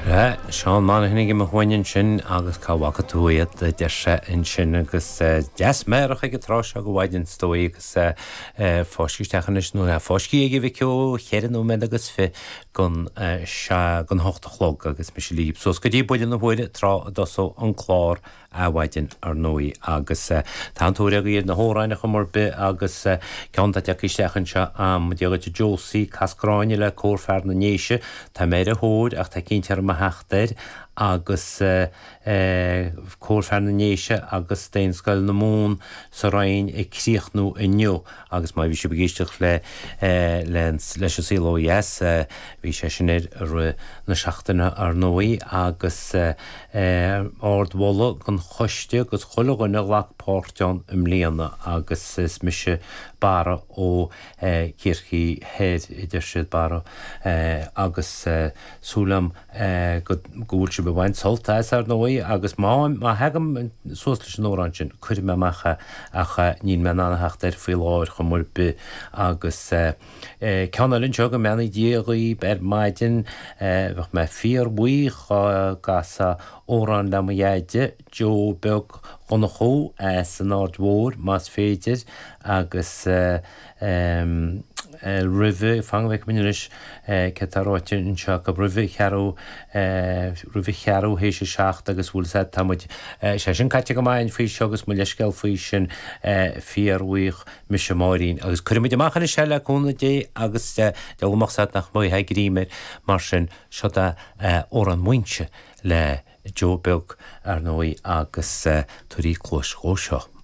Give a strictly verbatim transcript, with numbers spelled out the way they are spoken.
Seán Monaghan ag mo chuain ansin agus cá bhfaca tú iad a deir sé ansin agus deas meidhreach ag an tráth seo de mhaidin is dóigh agus fáiscthe isteach anois nó fáiscthe ag Mhic Eo cheithre nóiméad agus fiche gon gon hocht a chlog agus mise libh suas go dtí buille na huaire tráth a dtosóidh an clár adhmhaidin ar ndóigh agus tá an tóir agaibh ar na hamhráin ar chuma ar bith agus ceann atá tagtha isteach anseo a'm Dia dhuit a Josie, Cas Gráinne le Cór Fear na nDéise, tá mé ar a thóir ach tá cinnte orm a theacht air agus Cór Fear na nDéise agus Daonscoil na Mumhan sa Rinn ag críochnú inniu agus má bhí sibh ag éisteacht le leis an Saol Ó Dheas bhí sé sin ar i rith na seachtaine ar ndóigh agus ardmholadh don choiste agus chuile dhuine a ghlac páirt ann i mbliana agus is mise Barra ó Chiarraí Thoir a deir siad Barra agus súil agam go bhfuil sibh ag baint sult as ar ndóigh agus má má thagaim suas leis an amhrán sin cuirfidh mé amach é ach níl mé in ann a theacht air faoi láthair chuma ar bith agus ceann eile anseo go mbeannaí Dia dhaoib ar maidin bheadh mé fíorbhuíoch dá gcasfá amhrán le mo dheaide Joe Beag Dhonnchú as an Aird Mhóir más féidir agus roimhe, fan go bhfeicfidh muid anois céard tá ráite anseo acu, roimhe cheathrú, roimhe cheathrú théis a seacht agus bhfuil 'fhios a'd tá muid, sé sin caite go maith faoi seo agus mo leithscéal faoi sin, fíorbhuíoch mise Máirín agus cuirfidh muid amach anois é le cúnamh Dé agus deabhal amach 's a'd nach mbeidh greim air mar sin seo é Amhrán Mhuínse le Joe Beag ar ndóigh agus tabhair cluas dhó seo.